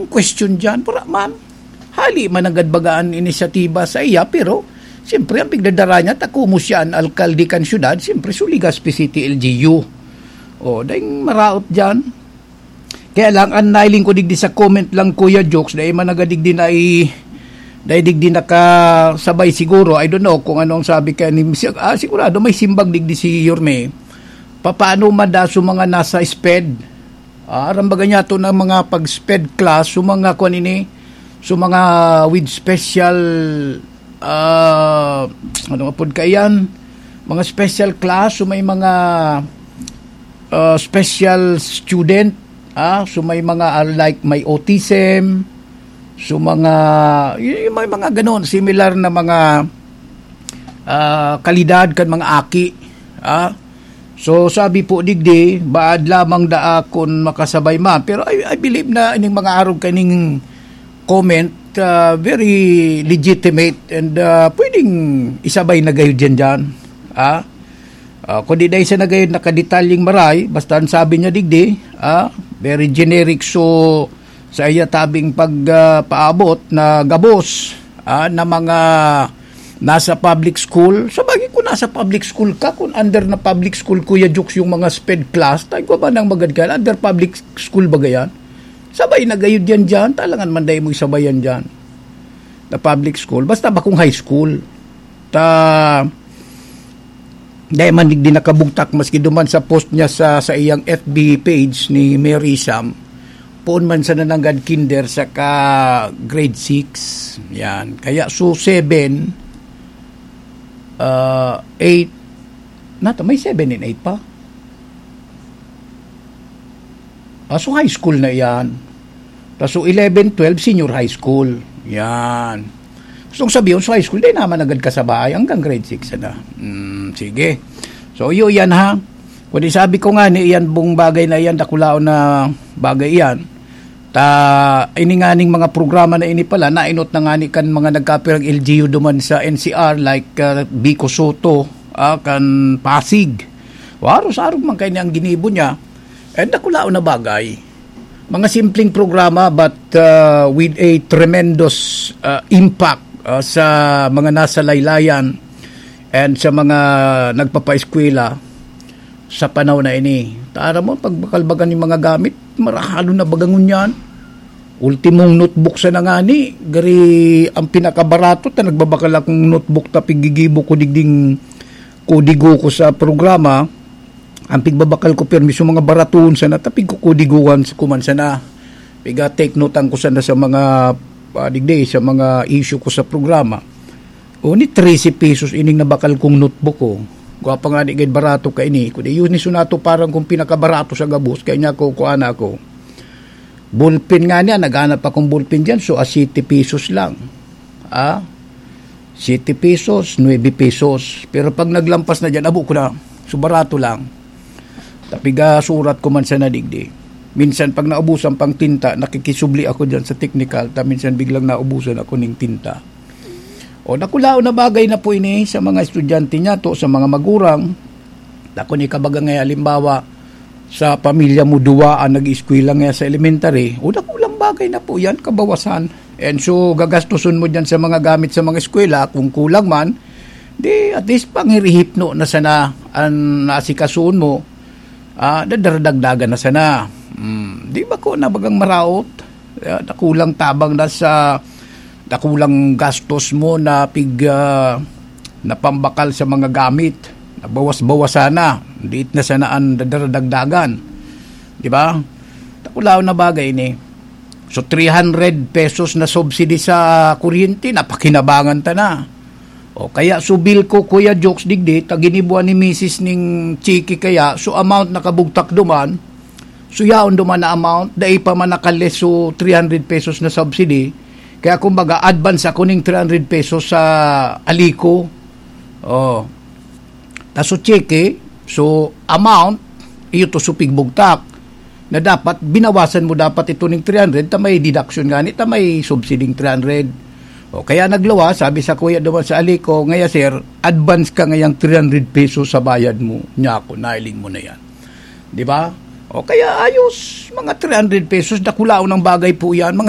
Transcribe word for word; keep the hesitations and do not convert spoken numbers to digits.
Question dyan, pura man. Hali man nanggad baga an inisyatiba sa iya, pero siyempre, ang pigdadara niya, ta kumo siya an alkalde kan syudad, siyempre, so Legazpi City L G U. O, daing maraot dyan. Kaya lang, an nailing ko digdi sa comment lang, Kuya Jokes, dai man nanggad digdi na i-, dai digdi nakasabay siguro. I don't know kung ano ang sabi kaya ni, ah, sigurado may simbag digdi si Yorme. Papaano mada sa mga nasa sped? Ah, aram baga niya to ng mga pag-sped class, so mga kwan ini, so mga with special, ah, ano nga pod kaiyan? Mga special class, so may mga, ah, special student, ah, so may mga, ah, like may autism, so mga, y-, may mga ganon, similar na mga, ah, kalidad kan mga aki, ah. So, sabi po digdi, baad lamang daa kun makasabay man. Pero I, I believe na ining mga arog kaning comment, ah, very legitimate and, ah, pwedeng isabay na gayud yan dyan. Ah? Ah, kundi dahil sa nagayud nakadetalyeng maray, basta ang sabi niya digdi, ah, very generic. So, sa iya tabing pag, ah, paabot na gabos, ah, na mga nasa public school. Sa bagay, kung nasa public school ka, kung under na public school, Kuya Jokes, yung mga sped class, tayo ko ba nang magad ka, under public school ba yan? Sabay na gayud yan dyan, talangan man dahil mo isabayan dyan na public school. Basta bakong high school. Ta, dahil man digdi nakabugtak, maski duman sa post niya sa, sa iyang F B page ni Mary Sam, poon man sa nananggad kinder sa ka grade six. Yan. Kaya so seven, ah, eight, nata, may seven and eight pa. Ah, so high school na yan. Tas so eleven, twelve, senior high school. Yan. Gustong sabihin, so high school, di naman agad kasabay hanggang grade six na. Mm, sige. So, yun yan ha. Kundi sabi ko nga ni, iyan bung bagay na iyan, dakulaon na bagay iyan. Ta, ini nga ning mga programa na ini pala, nainot na nga ni kan mga nagkapirang L G U duman sa N C R, like, ah, Vico Soto, ah, kan Pasig. Waro sa arog man kayo ang ginibo niya. And dakulaon na bagay. Mga simpleng programa, but, ah, with a tremendous, ah, impact, ah, sa mga nasa laylayan and sa mga nagpapaeskwela sa panahon na ini. Tara mo, pagbakalbagan yung mga gamit, marahalo na bagangon yan. Ultimong notebook sa nangani, gari ang pinakabarato, ta nagbabakal akong notebook, ta pigigibo ko digding kodigo ko sa programa, ang pigbabakal ko permi sa mga baraton sana, ta pigkukodigohan sa kuman sana. Piga take note ang ko sana sa mga, ah, digdi, sa mga issue ko sa programa. O ni trese pesos ining nabakal kong notebook ko. Gwa pa nga di gid barato ka ini. Kundi yun ni sunato parang kung pinakabarato sa gabos. Kaya niya ko, kuha na ako. Ballpen nga niya, naghanap akong ballpen dyan. So, ah, siyete pesos lang. Ah? Siyete pesos, nuebe pesos. Pero pag naglampas na dyan, abo ko na. So, barato lang. Tapiga surat ko man sa nadigdi. Minsan, pag naubusan pang tinta, nakikisubli ako dyan sa technical. Ta minsan, biglang naubusan ako ning tinta. O, dakulaon na bagay na po ini sa mga estudyante niya to, sa mga magurang. Dakon ikabaga nga, halimbawa, sa pamilya mo, duwa ang nag-eskwela nga sa elementary, o, dakulang bagay na po yan, kabawasan. And so, gagastuson mo dyan sa mga gamit sa mga eskwela, kung kulang man, di at least panghirihipno na sana ang naasikasoon mo, ah, dadaragdagan na sana. Hmm, di ba ko na bagang maraot? Ah, dakulang tabang na sa dakulang gastos mo na pig, ah, na pambakal sa mga gamit. Nabawas-bawasan na. Diit na sana ang dadaragdagan. Di ba? Dakulaon na bagay ni. So, three hundred pesos na subsidy sa kuryente, napakinabangan ta na. O, kaya so bill ko, Kuya Jokes, digdi, ta ginibuan ni misis ning chiki kaya, so amount nakabugtak duman, so yaon duman na amount, dai pa man nakales so three hundred pesos na subsidy, kaya kumbaga, advance ako ning three hundred pesos sa Alico. O, ta so chiki, so amount, iyo to so pigbugtak. Na dapat binawasan mo dapat ito ning three hundred, ta may deduction gani, ta may subsiding three hundred. O kaya nagluwas, sabi sa kuya duman sa Alico, "Ngaya, sir, advance ka ngayang three hundred pesos sa bayad mo." Niya ako, "Nailing mo na yan." Di ba? O kaya ayos, mga three hundred pesos, dakulaon ang bagay po yan. Mga